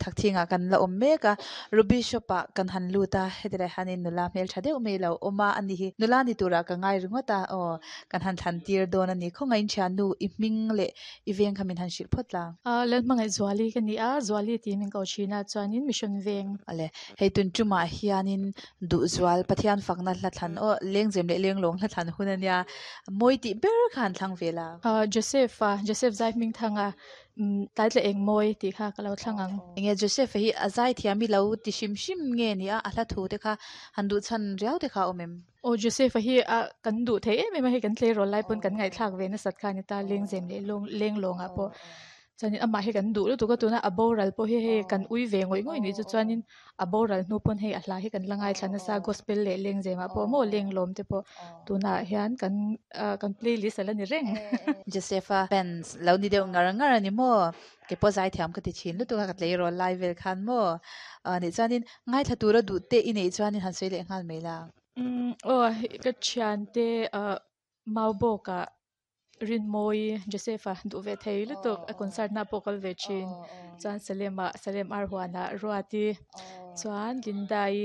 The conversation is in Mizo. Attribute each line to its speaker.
Speaker 1: Thakthing ah kan la awm mek a ruby shop ah kan han lut a heti lai hianin nula hmeltha deuh mai alo awm a ani hi nula ni turah ka ngai ringawt a aw kan han thlan tir dawn ani khawngaihin thiannu i hming leh i veng kha min han hrilh phawt la.
Speaker 2: Ahh Lalhmangaih Zuali ka ni a Zuali tih min ko thin a chuanin mission veng.
Speaker 1: Awle hei tun tumah hianin duhzual Pathian fakna hla thlan aw lengzem leh lenglawng hla thlan hun ania mawi tih ber kha an thlang ve la.
Speaker 2: Ahh Joseph a Joseph Zaihmingthanga umm tlaitla eng mawi tih kha ka lo thlang ang.
Speaker 1: Enge Joseph a hi a zaithiam hi lo ti hrim hrim nge ni a a hla thu te kha han duh chhan riau te kha a awm em?
Speaker 2: Aw Joseph a hi a kan duh thei em em a hei kan tleirawl lai pawn kan ngaihthlak ve nasat kha a ni ta lengzem leh lawng lenglawng ah pawh chuanin amah hi kan duh lutuk a tuna a boral pawh hi hei kan ui ve ngawih ngawih nih chu chuanin a boral hnu pawn hei a hla hi kan la ngaithla nasa gospel leh lengzem ah pawh maw lenglawm te pawh tunah hian kan ah kan playlist a la ni reng.
Speaker 1: Joseph a fans lo ni deuh ngar ngar a ni maw? Kei pawh zaithiam ka ti thin lutuk a ka tleirawl lai vel khan maw? Ah nih chuanin ngaithla tura duh te i neih chuanin han sawi leh nghal mai la.
Speaker 2: Umm aw ka thiante ah Maubawk ah Rinmawi Joseph-a duh ve thei lutuk a concert na pawh kal ve thin chuan Salem ah Salem Arhuan ah Ruati chuan Linda-i.